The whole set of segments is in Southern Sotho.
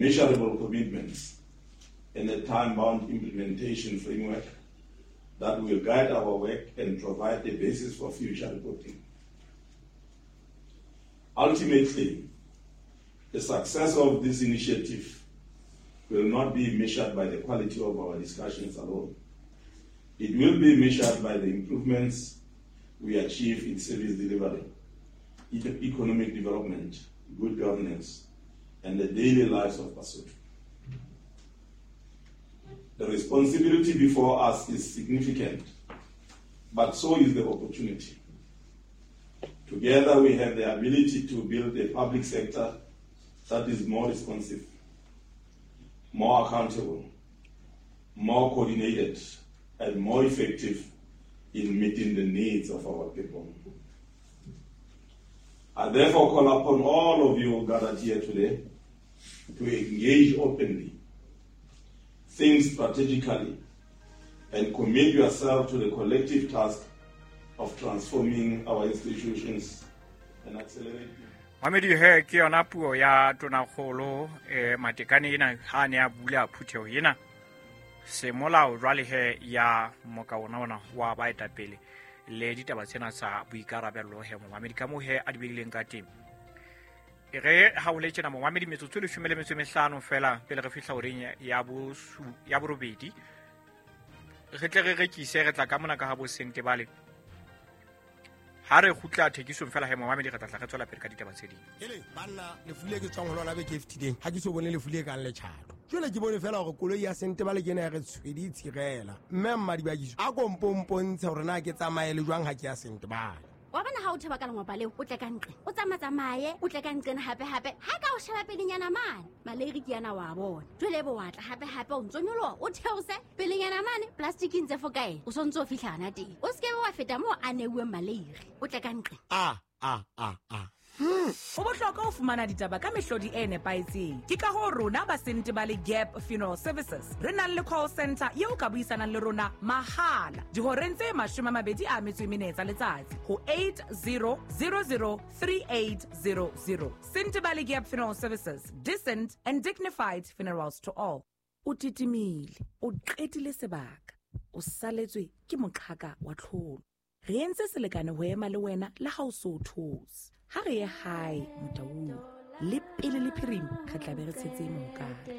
Measurable commitments, and a time-bound implementation framework that will guide our work and provide the basis for future reporting. Ultimately, the success of this initiative will not be measured by the quality of our discussions alone. It will be measured by the improvements we achieve in service delivery, economic development, good governance, and the daily lives of Basotho. The responsibility before us is significant, but so is the opportunity. Together, we have the ability to build a public sector that is more responsive, more accountable, more coordinated, and more effective in meeting the needs of our people. I therefore call upon all of you gathered here today to engage openly, think strategically, and commit yourself to the collective task of transforming our institutions and accelerating. Mamedi he ke yona puo ya tonakgolo Matekane ena ha ne a bula phutheho ena semolao jwale he ya moka ona ona wa baetapele le ditaba tsena tsa boikarabello he momamedi ka moo he a di beileng ka teng. E re ha o le tjena momamedi metsotso e 15 fela pele re fihla horeng ya borobedi re tle re rekise re tla ka mona ka ha bo sente bale ha re kgutla thekisong fela he momamedi re tla re tswela pele ka ditaba tse ding. Hele banna lefu le ke tswang ho lona beke e fetileng ha ke so bone lefu le kang letjhato. Jwale ke bone fela hore koloi ya sente bale ke ena ya re tshwedi tshirela. Mme mmadibakiso a kompompontshe hore na ke tsamaye le jwang ha ke ya sente bale. Wa bona ha o theba ka lengwapa leo o tle ka ntle o tsamatsamaye o tle ka nqena hape hape ha ka o sheba pelenyana mane maleiri ke yana wa bona jwale bo wa tla hape hape o ntso nyoloha o theose pelenyana mane plastic ntse fo kae o sontso o fihla hana teng o se ke wa feta moo a neuweng maleiri o tle ka ntle. A a a a Ho bohlokwa ho fumana ditaba ka mehlodi e nepahetseng. Ke ka hoo rona ba Sentebale Gap Funeral Services re nang le call center eo ka buisanang le rona mahala dihoreng tse 24 tsa letsatsi ho 80003800. Sentebale Gap Funeral Services, decent and dignified funerals to all. O titimile, o qetile sebaka, o saletswe ke moqhaka wa tlholo. Re entse selekane ho ema le wena le ha o so those. Ha re ye hae Motaung le pele le phirima re tla be re tshetse mohokare.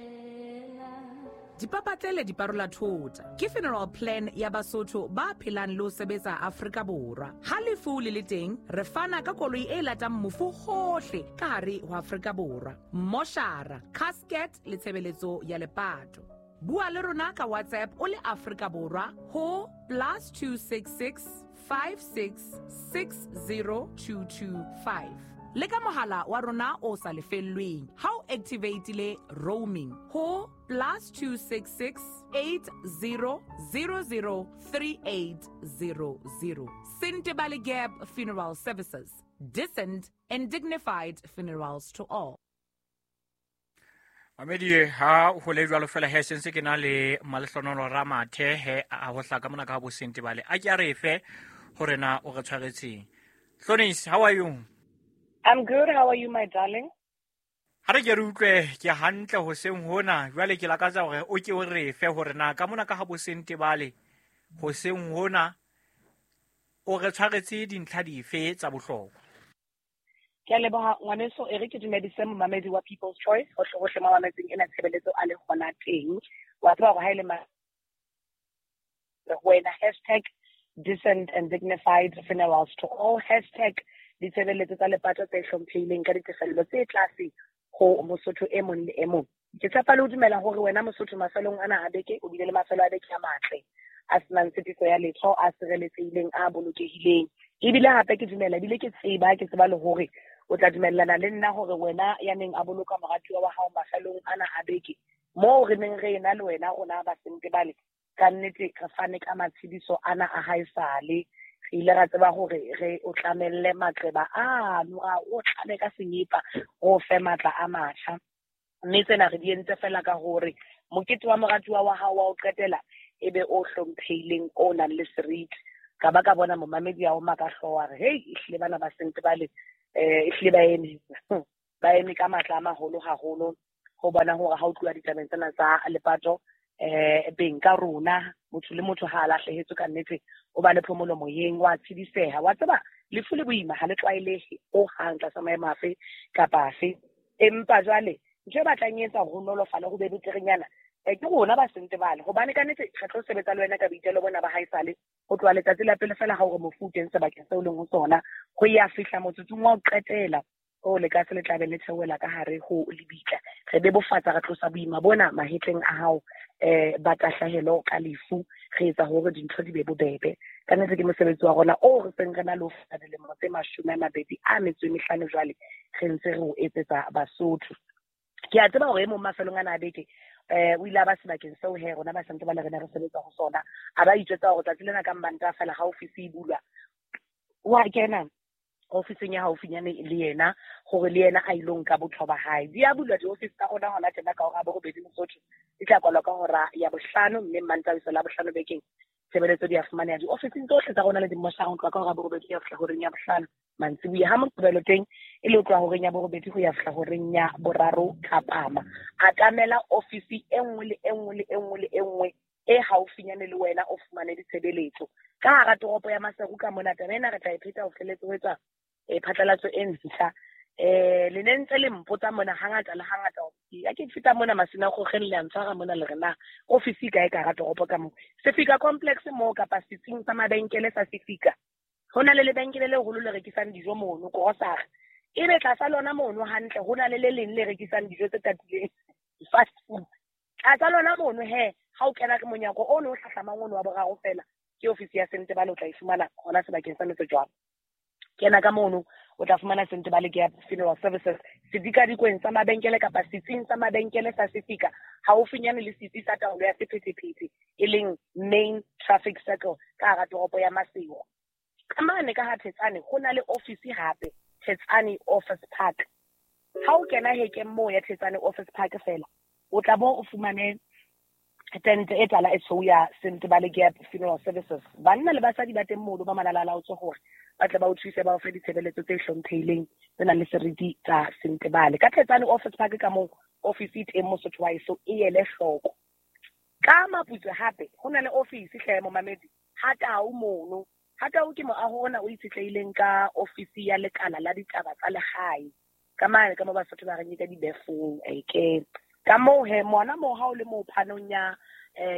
Dipapatlele di parola thota ke funeral plan ya Basotho ba phelang le ho sebetsa Afrika Borwa. Ha lefu le le teng re fana ka koloi e latang mofu hohle ka hare ho Afrika Borwa, moshara, casket le tshebeletso ya lepato. Bua le rona ka WhatsApp o le Afrika Borwa ho +266 5660225. Le ka mohala wa rona o sa lefellweng ha o activate-ile roaming ho +266 80003800. Sentebale Gap Funeral Services, decent and dignified funerals to all. Mamedi ha ho le jwalo fela he sentse ke na le Malehlohonolo Ramathe he a ho hlaka mona ka bo Sentebale a ke a re fe hore na o re tshwaretseng. Hlonis, how are you? I'm good. How are you, my darling? Ha re ke re utlwe ke hantle hoseng hona jwale ke lakatsa hore o ke o re fe hore na ka mona ka ha bo Sentebale hoseng hona o re tshwaretse dintlha dife tsa bohlokwa. Ke a leboha ngwaneso, e re ke dumedise momamedi wa People's Choice hohle hohle mo mametseng ena tshebeletso a le hona teng. Wa tseba hore ha e le wena hashtag decent and dignified funerals to all, hashtag ditshebeletso tsa lepato tse hlomphehileng ka ditefello tse tlase ho Mosotho e mong le e mong. Ke tshepa le ho dumela hore wena Mosotho mafelong ana a beke o bile le mafelo a beke a matle a senang tshitiso ya letho, a sireletsehileng, a bolokehileng. Ebile hape ke dumela ebile ke tseba le hore o tla dumellana le nna hore wena ya neng a boloka moratuwa wa hao mafelong ana a beke moo re neng re ena le wena rona ba Sentebale ka nnete re fane ka matshediso ana a haesale. Re ile ra tseba hore re o tlamelle maqeba ano, ra o tlame ka senyepa ho fe matla a matjha. Mme tsena re di entse fela ka hore mokete wa moratuwa wa hao wa o qetela ebe o hlomphehileng, o nang le seriti. Ka ba ka bona momamedi ya o maka hlooho a re hei ehlile bana ba Sentebale ehlile ba eme ba eme ka matla a maholo haholo ho bona hore ha o tluwa ditabeng tsena tsa lepato beng ka rona motho le motho ha a lahlehetswe ka nnete o ba le phomolo moyeng wa tshidiseha wa tseba lefu le boima ha le tlwaelehe o hang tlasa maemo afe kapa afe. Empa jwale ntho e batlang e etsa ho nolofale ho be beterenyana ke rona ba Sentebale, hobane ka nnete re tlo sebetsa le wena ka boitelo bona ba haesale ho tloha letsatsi la pele fela ha hore mofu o teng sebakeng seo leng ho sona ho ya fihla motsotsong wa ho qetela o le ka se le tlabe le theohela ka hare ho lebitla. Re bebofatsa, re tlosa boima bona mahetleng a hao ba tahlehelo ka lefu, re etsa hore dintho di be bobebe. Ka nnete ke mosebetsi wa rona o re seng re na le ho feta dilemo tse 25 jwale re ntse re o etsetsa Basotho. Ke a tseba hore e mong mafelong ana a beke o ile a ba sebakeng seo he rona ba Sentebale re ne re sebetsa ho sona, a ba itjwetsa hore tsatsi lena ka Mmantaha fela ha ofisi e bulwa wa kena ofising ya haufinyane le yena hore le yena a ilo nka botho ba hae. Di a bulwa diofisi tsa rona hona tjena ka hora ya 8 Mosotho, di tla kwalwa ka hora ya 5, mme Mmantaha ho isa la 5 bekeng tshebeletso di a fumaneha diofising tsohle tsa rona le dimmoshara ho tloha ka hora ya 8 ho ya fihla horeng ya 5 mantsiboya. Ha Moqebelo teng e le ho tloha horeng ya 8 ho ya fihla horeng ya 3 thapama. Atamela ofisi e nngwe le e nngwe le e nngwe le e nngwe e haufinyane le wena o fumane ditshebeletso. Ka hara toropo ya Maseru ka mona taba ena re tla e pheta ho feletse ho etswa phatlalatso e ntjha. Le ne ntse le mpotsa mona hangata le hangata ya ke feta mona Masina Kgokgeng le a ntshwara mona le re na ofisi kae ka hara toropo ka moo Sefika complex moo kapa setsing sa mabenkele sa Sefika ho na le lebenkele le leholo le rekisang dijo mono grocery, ebe tlasa lona mono hantle ho na le le leng le rekisang dijo tse tatileng fast food. Tlasa lona mono he ha o kena ke monyako o no hlahlamang ono wa boraro fela ke ofisi ya Sentebale, o tla e fumana hona sebakeng sa Motse jwalo. Kena ka mono o tla fumana Sentebale Gap Funeral Services sedikadikweng sa mabenkele kapa setsing sa mabenkele sa Sefika haufinyane le setsi sa taolo ya sephethephethe e leng Main Traffic Circle ka hara toropo ya Maseru. Ka mane ka ha Thetsane ho na le ofisi hape, Thetsane Office Park. Ha o kena hekeng moo ya Thetsane Office Park fela o tla bo o fumane tente e tala e tshweu ya Sentebale Gap Funeral Services. Banna le basadi ba teng mono ba malalalaotswe hore ba tle ba o thuse ba o fe ditshebeletso tse hlomphehileng tse nang le seriti tsa Sentebale. Ka Thetsane Office Park ka moo ofisi e teng Mosotho wa heso e ele hloko. Ka Maputswe hape ho na le ofisi hle momamedi ha Tau mono. Ha Tau ke moaho ona o itshetlehileng ka ofisi ya lekala la ditaba tsa lehae. Ka mane ka mo Basotho ba reng ka dibefong ke ka moo he mona moo ha o le moo phanong ya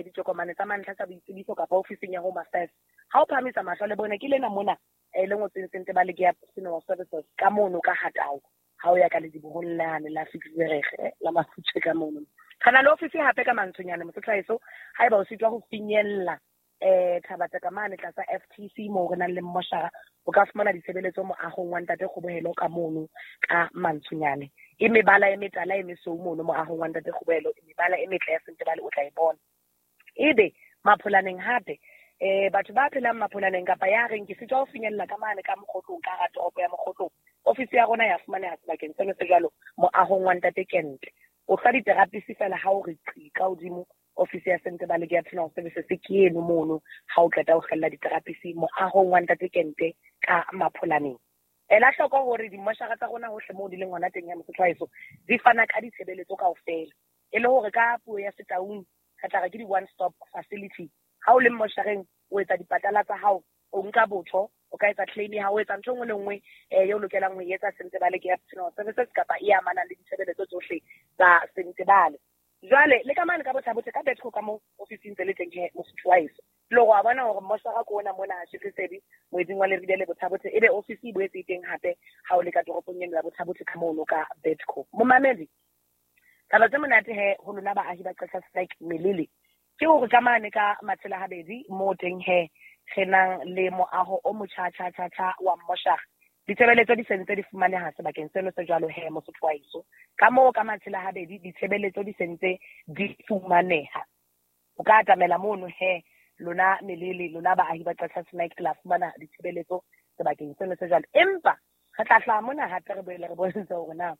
ditokomane tsa mantlha tsa boitsebiso kapa ofising ya Home Affairs ha o phamisa mahlo le bone ke lena mona le ngotsweng Sentebale Gap Funeral Services ka mono ka Hatao ha o ya ka ledibohong lane la Fitzgerege la Mafutshwe ka mono. Re na le ofisi hape ka Mantshonyane Mosotho haeso haeba o sitwa ho finyella Thabatse ka mane tlasa FTC moo re nang le mmoshara o ka fumana ditshebeletso moahong wa Ntate Kgobohelo ka mono ka Mantshonyane. E mebala e metala e mesweu mono moahong wa Ntate Kgobohelo, e mebala e metle ya Sentebale o tla e bona. Ebe Mapholaneng hape batho ba phelang Mapholaneng kapa ya reng ke sitwa ho finyella ka mane ka Mokgotlong ka hara toropo ya Mokgotlong, ofisi ya rona ya fumaneha sebakeng seno se jwalo moahong wa Ntate Kente. O hlwa diterapisi fela ha o re qi ka hodimo ofisi ya Sentebale Gap Funeral Services ke eno mono ha o qeta ho kgella diterapisi moahong wa Ntate Kente ka Mapholaneng. Ela hloko hore dimmoshara tsa rona hohle moo di leng hona teng ya Mosotho wa heso di fana ka ditshebeletso kaofela, e le hore ka puo ya Setaung re tla re ke di-one stop facility. Ha o le mmoshareng o etsa dipatala tsa hao, o nka botho, o ka etsa claim ya hao, o etsa ntho e nngwe le nngwe eo lokelang ho e etsa Sentebale Gap Funeral Services kapa e amanang le ditshebeletso tsohle tsa Sentebale. Jwale le ka mane ka Botha-Bothe ka Betco ka moo ofising tse le teng he Mosotho wa heso. Le hore wa bona hore mmoshara ke ona mona ha Shefesedi moeding wa Leribe le Botha-Bothe, ebe ofisi e boetse e teng hape ha o le ka toropong eno ya Botha-Bothe ka mono ka Betco. Momamedi, taba tse monate he ho lona baahi ba Qacha's Nek Melele ke hore ka mane ka Matshela Habedi moo teng he re nang le moaho o motjha tjha tjha tjha wa mmoshara. Ditshebeletso di sentse di fumaneha sebakeng seno se jwalo he Mosotho wa heso. Ka moo ka Matshela Habedi ditshebeletso di sentse di fumaneha. O ka atamela mono he lona Melele, lona baahi ba Qacha's Nek la fumana ditshebeletso sebakeng seno se jwalo. Empa re tla hlaha mona hape re boele re bontshe hore na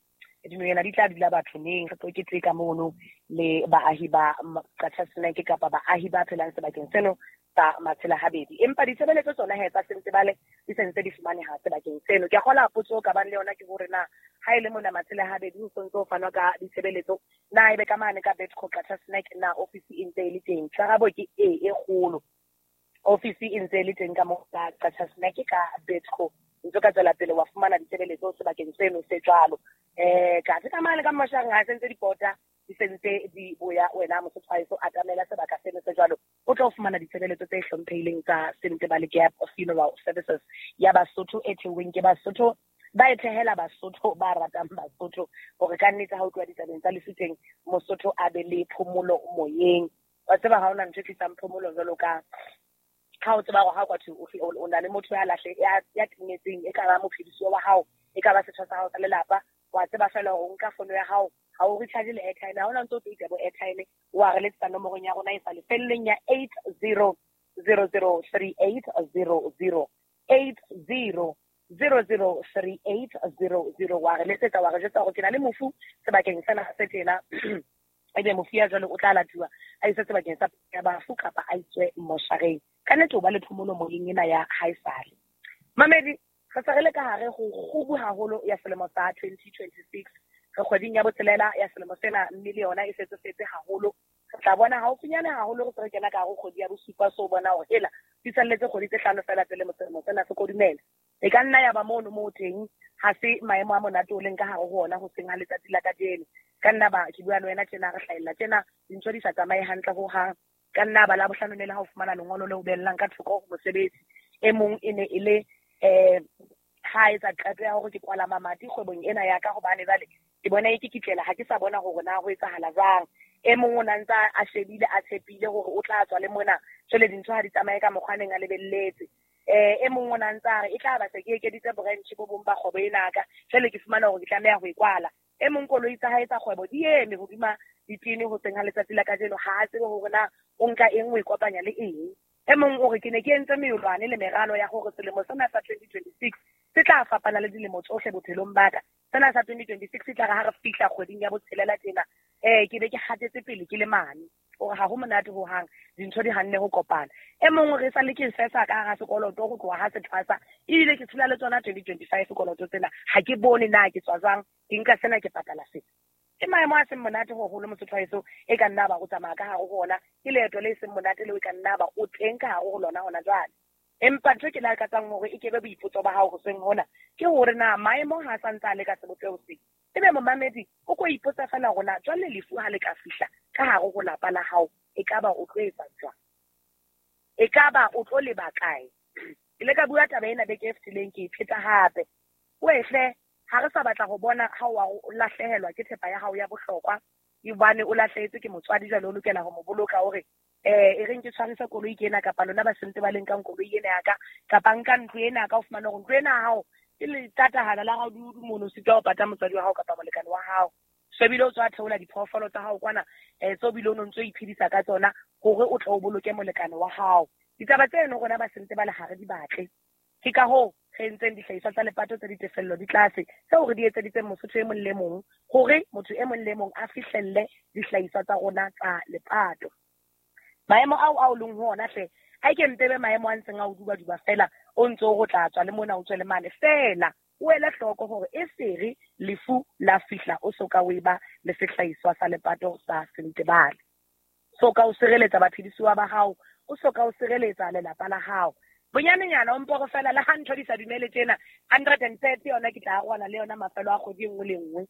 dinonyana di tla dula batho neng, re tlo keteka mono le baahi ba Qacha's Nek kapa baahi ba phelang sebakeng seno Sa Matshela Habedi. Empa ditshebeletso tsona he tsa Sentebale di sentse di fumaneha sebakeng seno. Ke a kgola potso o ka bang le yona ke hore na ha e le mona Matshela Habedi ho sontso ho fanwa ka ditshebeletso, na ebe ka mane ka Betco Qacha's Nek na ofisi e ntse e le teng? Karabo ke e e kgolo. Ofisi e ntse e le teng ka mo ka Qacha's Nek ka Betco. Ntse ka tswela pele wa fumana ditshebeletso sebakeng seno se jwalo. Ka ka mane ka Mashang ha sentse dipota di sentse di boya wena Mosotho wa heso atamela sebaka seno se jwalo, o tlo fumana ditshebeletso tse hlomphehileng tsa Sentebale Gap Funeral Services ya Basotho e thehweng ke Basotho, ba e thehela Basotho ba ratang Basotho, hore ka nnete ha o tloha ditabeng tsa lefu teng Mosotho a be le phomolo moyeng. Wa tseba ha hona ntho e tlisang phomolo jwalo ka ha o tseba hore ha kwa thwe o na le motho ya lahle ya timetseng, e ka ba mophedisuwa wa hao, e ka ba setho sa hao sa lelapa, wa tseba fela hore o nka fono ya hao, ha o recharge le airtime, ha hona ntso o tlo ita bo airtime, wa re letsetsa nomorong ya rona e sa lefellweng ya 80003800, 80003800, wa re letsetsa wa re jwetsa hore ke na le mofu sebakeng sena se tjena, ebe mofu ya jwale o tla latuwa a iswe sebakeng sa ya bafu kapa a iswe moshareng. Ka nnete o ba le phomolo moyeng ena ya haesale. Mamedi, re se re le ka hare ho kgubu haholo ya selemo sa 2026. Re kgweding ya botshelela ya selemo sena, mme le yona e setse setse haholo. Re tla bona haufinyane haholo re se re kena ka hare ho kgwedi ya bosupa, so bona hore hela di salletse kgwedi tse hlano fela pele selemo sena se kodumela. E ka nna ya ba mono moo teng ha se maemo a monate o leng ka hare ho ona hoseng ha letsatsi la kajeno. Ka nna ba ke bua le wena tjena re hlahella tjena dintho di sa tsamaye hantle ho hang. Ka nna ba la bohlano ne le ha o fumana lengolo le o bellang ka thoko ho mosebetsi. E mong e ne e le ha etsa qeto ya hore ke kwala mamati kgwebong ena ya ka hobane jwale ke bona e ke kitlela, ha ke sa bona hore na ho etsahala jwang. E mong o na ntsa a shebile a tshepile hore o tla tswa le mona, jwale dintho ha di tsamaye ka mokgwa a neng a lebelletse. E mong o na ntsa re e tla ba se ke ekeditse branch bo bong ba kgwebo ena ka, jwale ke fumana hore ke tlameha ho e kwala. E mong koloi tsa hae tsa kgwebo di eme hodima ditene hoseng ha letsatsi la kajeno, ha a tsebe hore na o nka eng o e kopanya le eng. E mong o re ke ne ke entse meolwane le meralo ya hore selemo sena sa 2026 se tla fapana le dilemo tsohle bophelong ba ka. Sena sa 2026 se tla re ha re fihla kgweding ya botshelela tjena, ke be ke hatetse pele ke le mane. Hore ha ho monate ho hang, dintho di hanne ho kopana. E mong re sa le ke sesa ka hara sekoloto ho tloha ha se thwasa, ebile ke tshela le tsona 2025 sekoloto tsena, ha ke bone na ke tswa jwang, ke nka sena ke patala sena. Ke maemo a seng monate haholo Mosotho wa heso, e ka nna ba o tsamaya ka hare ho ona, ke leeto le seng monate leo e ka nna ba o teng ka hare ho lona hona jwale. Empa ntho ke lakatsang hore e kebe boipotso ba hao hoseng hona ke hore na maemo ha sa ntse a le ka sebopeho se. Ebe momamedi o ko ipotsa fela hore na jwale lefu ha le ka fihla ka hare ho lapa la hao, e ka ba o tlo etsa jwang? E ka ba o tlo leba kae? Ke ile ka bua taba ena beke e fetileng, ke e pheta hape. Wehle, ha re sa batla ho bona ha o lahlehelwa ke thepa ya hao ya bohlokwa, hobane o lahlehetswe ke motswadi jwale o lokela ho mo boloka, o re e reng ke tshwarise koloi ke ena, kapa lona ba sentse ba le nkang koloi ena ya ka, kapa nka ntlo ena ka, o fumane hore ntlo ena ya hao ke letatahala la raududu mono, o sitwa ho pata motswadi wa hao kapa molekane wa hao. So ebile o tswa theola diphoofolo tsa hao kwana, tseo bile o no ntso iphedisa ka tsona hore o tle o boloke molekane wa hao. Ditaba tseno rona ba sentse ba le hare di batle. Ke ka hoo re entseng dihlahiswa tsa lepato tse ditefello di tlase, tseo re di etseditseng Mosotho e mong le mong, hore motho e mong le mong a fihlelle dihlahiswa tsa rona tsa lepato. Maemo ao a o leng ho ona hle, a ke mpebe maemo a ntseng a o duba-duba fela, o ntse o re o tla tswa le mona o tswe le mane fela, o ele hloko hore e sere lefu la fihla o soka o eba le sehlahiswa sa lepato sa Sentebale. Soka o sireletsa baphedisuwa ba hao, o soka o sireletsa lelapa la hao. Bonyanenyana o mpo re fela le ha ntho di sa dumele tjena, 130 yona ke tla arohana le yona mafelo a kgwedi e nngwe le nngwe.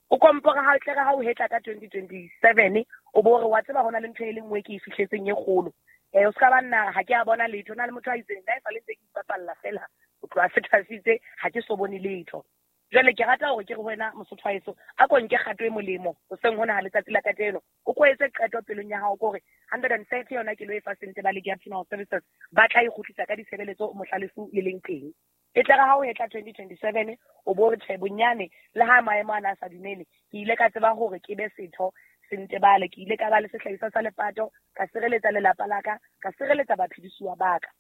O kompore ha tle re ha o hetla ka 2027 o bo re wa tseba hona le ntho e le nngwe ke e fihletseng e kgolo. O ska ba nna ha ke a bona letho, na le motho a itseng nna e sale ntse ke ipapalla fela, o tloha se thwasitse ha ke so bone letho. Jwale ke rata hore ke re ho wena Mosotho wa heso, a ko nke kgato e molemo hoseng hona ha letsatsi la kajeno. O ko etse qeto pelong ya hao kore 130 yona ke lo e fa Sentebale Gap Funeral Services, ba tla e kgutlisa ka ditshebeletso mohla lefu le leng teng. E tle re ha o hetla 2027 o bo re tjhe bonyane le ha maemo ana a sa dumele, ke ile ka tseba hore ke be setho Sentebale, ke ile ka ba le sehlahiswa sa lepato, ka sireletsa lelapa la ka, ka sireletsa baphedisuwa ba ka.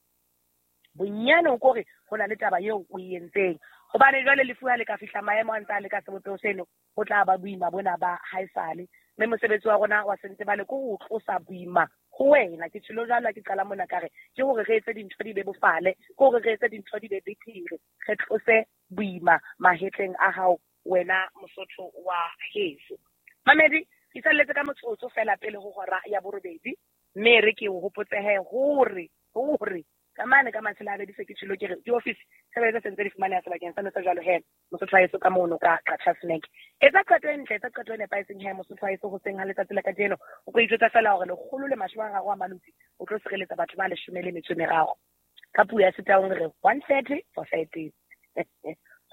Bonyane o kore ho na le taba eo o e entseng. Hobane jwale lefu ha le ka fihla maemo a ntse a le ka sebopeho seno, ho tla ba boima bona ba haesale. Mme mosebetsi wa rona wa Sentebale ke ho tlosa boima Ho wena ke tshilo jwalo ke qala mona ka re ke hore re etse dintho di be bofale, ke hore re etse dintho di be betere, re tlose boima mahetleng a hao wena Mosotho wa heso. Mamedi, ke salletse ka motsotso fela pele ho hora ya 8, mme re ke o hopotsehe hore ka mane ka matshela a bedise ke tshilo ke re di-office tshebeletso se ntse di fumaneha sebakeng sa sa jwalo he Mosotho wa heso ka mono ka Qacha's Nek. Etsa qeto e ntle, etsa qeto e nepahetseng he Mosotho wa heso hoseng ha letsatsi la kajeno. O tlo ijwetsa fela hore 130 a maloti o tlo sireletsa batho ba 13. Ka puo ya Setaung re 130 for 30.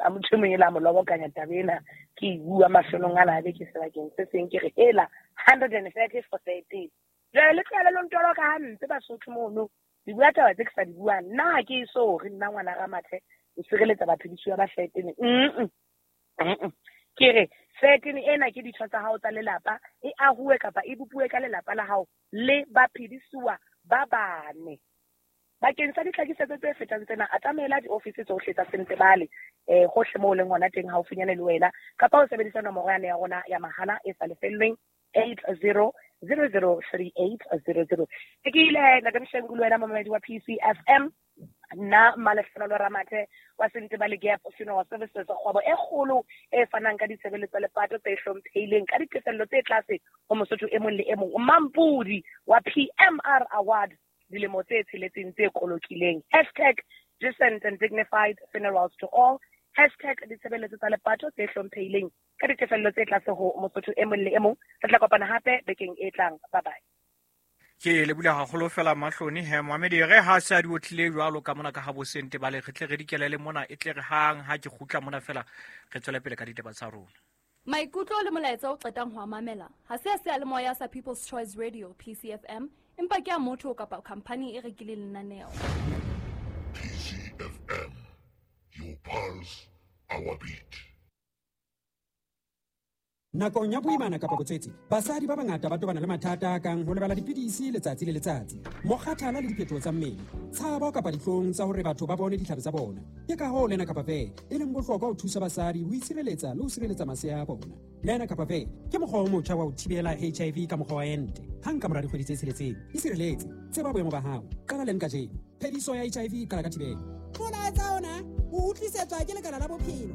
A motho mong ela molobokanya taba ena ke e bua mafelong ana a beke sebakeng se seng ke re hela 130 for 30. Jwale le tlohele lo ntolo ka hampe Basotho mono. Di bua taba tse ke sa di buang. Nna ha ke eso re nna ngwana Ramathe o sireletsa baphedisuwa ba 13. Ke re 13 ena ke ditho tsa hao tsa lelapa, e ahuwe kapa e bopuwe ka lelapa la hao le baphedisuwa ba bane. Bakeng sa ditlhakisetso tse fetang tsena, atamela diofisi tsohle tsa Sentebale hohle moo o leng hona teng haufinyane le wena, kapa o sebedisa nomoro yane ya rona ya mahala e sa lefellweng 80003800. Ke ile ntate Mshengu le wena momamedi wa PCFM, nna Malehlohonolo Ramathe wa Sentebale Gap Funeral Services, kgwebo e kgolo e fanang ka ditshebeletso lepato tse hlomphehileng ka ditefello tse tlase ho Mosotho e mong le e mong. Mampudi wa PMR Award dilemo tse tsheletseng tse kolokileng. Hashtag decent and dignified funerals to all. Hashtag ditshebeletso tsa lepato tse hlomphehileng ka ditefello tse tlase ho Mosotho e mong le e mong. Re tla kopana hape bekeng e tlang. Bye bye. Ke le bula haholo fela mahloni he Mohamedi re ha se a di otlile jwalo ka mona ka ha bo Sentebale re tle re dikelele mona e tle re hang ha ke kgutla mona fela re tswele pele ka ditaba tsa rona. Maikutlo le molaetsa o qetang ho mamela ha se a seyalemoya sa People's Choice Radio PCFM, empa ke a motho kapa company e rekileng lenaneo. PCFM, your pulse, our beat. Nakong ya boimana kapa botswetse, basadi ba bangata ba tobana le mathata a kang ho lebala dipidisi letsatsi le letsatsi, mokgathala le diphetoho tsa mmele, tshabo kapa dihlong tsa hore batho ba bone ditlhabi tsa bona. Ke ka hoo Lena Kapa Ve e leng bohlokwa ho thusa basadi ho itshireletsa le ho sireletsa masea a bona. Lena Kapa Ve ke mokgwa o motjha wa ho thibela HIV ka mokgwa wa ente. Hang ka mora dikgwedi tse 6, isireletse, tseba boemo ba hao, qala leng kajeno. Phediso ya HIV e qala ka thibelo. Molaetsa ona o utlwisetswa ke Lekala la Bophelo.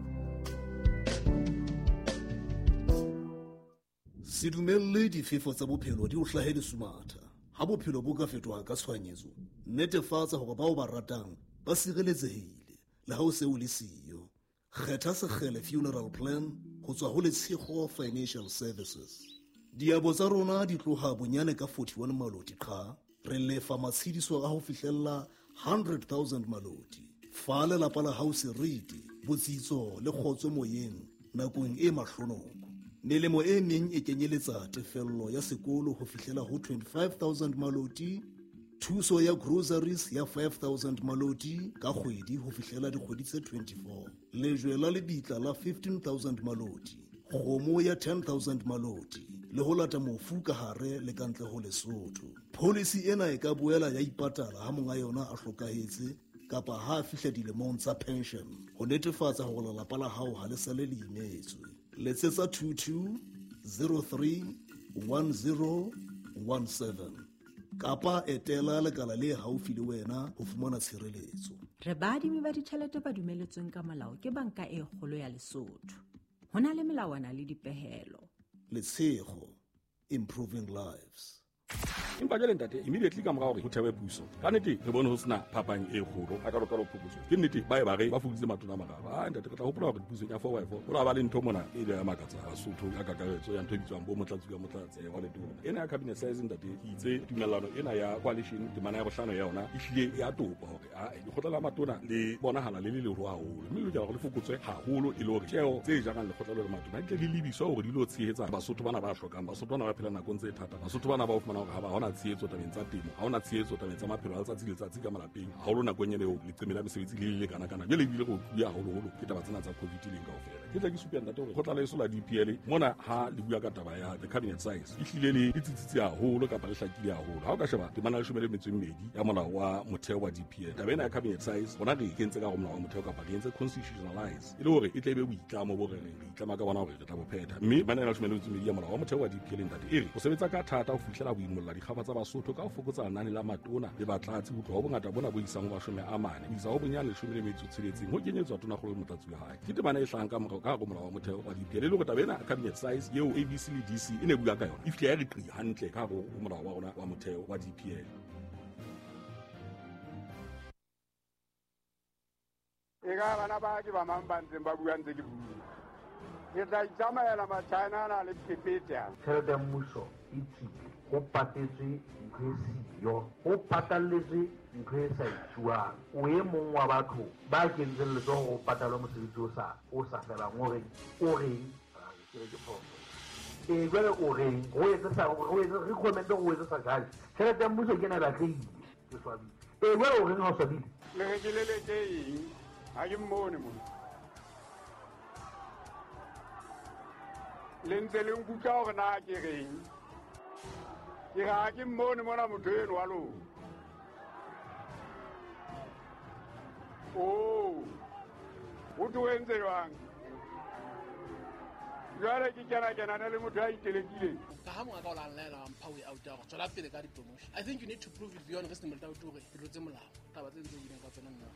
Se dumelle difefo tsa bophelo di o hlahe lesumatha. Ha bophelo bo ka fetoha ka tshohanyetso, netefatsa hore bao ba ratang ba sireletsehile le ha o se o le siyo. Kgetha Sekgele Funeral Plan ho tswa ho Letshego Financial Services. Diabo tsa rona di tloha bonyane ka 41 maloti qha. Re lefa matshediso a ho fihlella 100,000 maloti. Fa lelapa la hao seriti, botsitso le kgotso moyeng nakong e mahlonoko. Melemo e meng e kenyeletsa tefello ya sekolo ho fihlela ho 25,000 maloti, thuso ya groceries ya 5,000 maloti ka kgwedi ho fihlela dikgwedi tse 24, lejwe la lebitla la 15,000 maloti, kgomo ya 10,000 maloti le ho lata mofu ka hare le kantle ho Lesotho. Policy ena e ka boela ya ipatala ha monga yona a hlokahetse kapa ha a fihla dilemong tsa pension ho netefatsa hore lelapa la hao ha le sale le imetswe. Letsetsa 22 03 10 17 kapa etela lekala le haufi le wena ho fumana tshireletso. Re baadimi ba ditjhelete ba dumeletsweng ka molao ke Banka e Kgolo ya Lesotho. Ho na le melawana le dipehelo. Letshego, improving lives. Empa jwale ntate, immediately ka mora hore ho thewe puso, ka nnete re bone ho sena phapang e kgolo a ka lokalo phokotso. Ke nnete ba e ba re ba fokoditse matona a mararo. Ah ntate, re tla hopola hore pusong ya 4x4 ho la ba le ntho mona e ile ya makatsa Basotho ka kakaretso ya ntho e bitswang bo motlatsi ka motlatsi wa letona. Ena ya cabinet size ntate, ke itse tumellano ena ya coalition temana ya bohlano ya yona e hlile ya topa hore a lekgotla la matona le bonahala le le leholo haholo, mme le lokela hore le fokotswe haholo e le hore tjeo tse jarang lekgotla le matona di tle di lebiswa hore di lo tshehetsa Basotho bana ba hlokang, Basotho bana ba phelang nakong tse thata, Basotho bana ba o fumana hore ha ba hona tshehetso tabeng tsa temo, ha hona tshehetso tabeng tsa maphelo a letsatsi le letsatsi ka malapeng, haholo nakong ena eo leqeme la mesebetsi le le kana-kana. Jwale ebile re otluwe haholoholo ke taba tsena tsa COVID leng kaofela. Ke tla ke supe ntate hore kgotla la heso la DPL mona ha le bua ka taba ya the cabinet size e hlile le tsitsitse haholo kapa le hlakile haholo. Ha o ka sheba temana ya 12 ya molao wa motheo wa DPL, taba ena ya cabinet size rona re e kentse ka hare ho molao wa motheo kapa re entse constitutionalize e le hore e tle e be boitlamo bo re reng re itlama ka bona hore re tla bo phetha. Mme temana ya 12 ya molao wa motheo wa DPL ntate e re o sebetsa ka thata ho fihlela boimolla dikgaba ditaba tsa Basotho ka ho fokotsa lenane la matona le batlatsi ho tloha ho bongata bona bo isang ho 40 ho isa ho bonyane 16 ho kenyetswa tonakgolo le motlatsi wa hae. Ke temana e hlahang ka morao ka hare ho molao wa motheo wa DPL, e le hore taba ena cabinet size eo ABC le DC e ne bua ka yona e fihla ya re qi hantle ka hare ho molao wa rona wa motheo wa DPL. E ka bana ba ke ba mang ba ntseng ba bua ntse ke bua. Ke tla itsamaela Machina ana le phephethe ana. Tjhelete ya mmuso e tswile, ho patetswe ntho e siyo, ho patalletswe ntho e sa etsuwang. O e mong wa batho ba kentseng letsoho ho patalwe mosebetsi o sa felang. O reng? O reng? Ke re ke phoso. Ee, jwale o reng? Ho etse sa, ho etse, recommend ho etse sa judge. Tjhelete ya mmuso ke ena e batlehile. Ke swabile. Ee, jwale o reng ha o swabile? Le re ke leleke eng? Ha ke mmone mona. Le ntse le nkutlwa hore na ke reng? Ke re ha ke mmone mona motho eno wa lona. Oh, ho thwe o entse jwang? Jwale ke kena-kenane le motho a itelekileng. Ka ha mongaka o la nlaela wa mpha way out ya hore tswela pele ka di-promotion. I think you need to prove it beyond reasonable doubt hore ke tlotse molao. Taba tse ntse o buileng ka tsona nna.